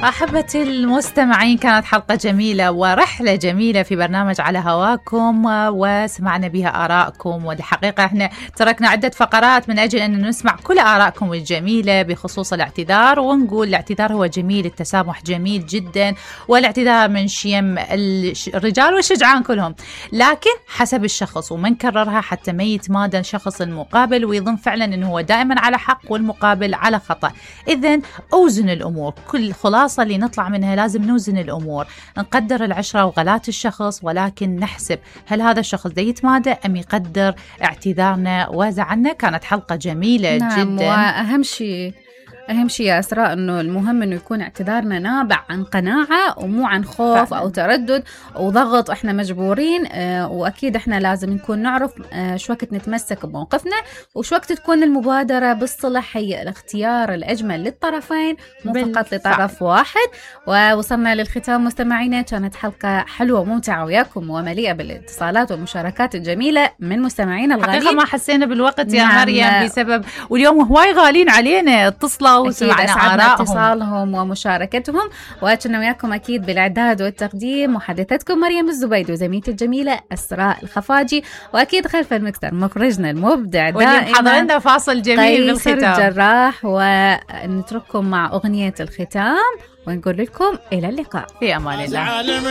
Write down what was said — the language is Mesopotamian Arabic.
أحبتي المستمعين، كانت حلقة جميلة ورحلة جميلة في برنامج على هواكم، وسمعنا بها آراءكم. والحقيقة احنا تركنا عدة فقرات من أجل أن نسمع كل آراءكم الجميلة بخصوص الاعتذار، ونقول الاعتذار هو جميل، التسامح جميل جدا، والاعتذار من شيم الرجال والشجعان كلهم، لكن حسب الشخص، ومن كررها حتى ما يتمادى الشخص المقابل ويظن فعلا أنه هو دائما على حق والمقابل على خطأ. إذن أوزن الأمور. كل خلاصة اللي نطلع منها لازم نوزن الأمور، نقدر العشرة وغلات الشخص، ولكن نحسب هل هذا الشخص ده يتمادى أم يقدر اعتذارنا وزعلنا. كانت حلقة جميلة جدا. أهم شيء يا أسراء أنه المهم أنه يكون اعتذارنا نابع عن قناعة ومو عن خوف فعلا. أو تردد أو ضغط إحنا مجبورين. وأكيد إحنا لازم نكون نعرف شو وقت نتمسك بموقفنا وشو وقت تكون المبادرة بالصلح هي الاختيار الأجمل للطرفين مو فقط لطرف واحد. ووصلنا للختام مستمعينا، كانت حلقة حلوة وممتعة وياكم ومليئة بالاتصالات والمشاركات الجميلة من مستمعينا الغالين. حقيقة ما حسينا بالوقت يا مريم بسبب واليوم هواي غالين علينا اتصلوا وسمعنا اتصالهم ومشاركتهم. وأتنا وياكم أكيد بالإعداد والتقديم محدثتكم مريم الزبيد وزميلتي الجميلة أسراء الخفاجي، وأكيد خلف المكتر مخرجنا المبدع دائما حضرنا فاصل جميل بالختام الجراح. ونترككم مع أغنية الختام ونقول لكم إلى اللقاء في أمان الله.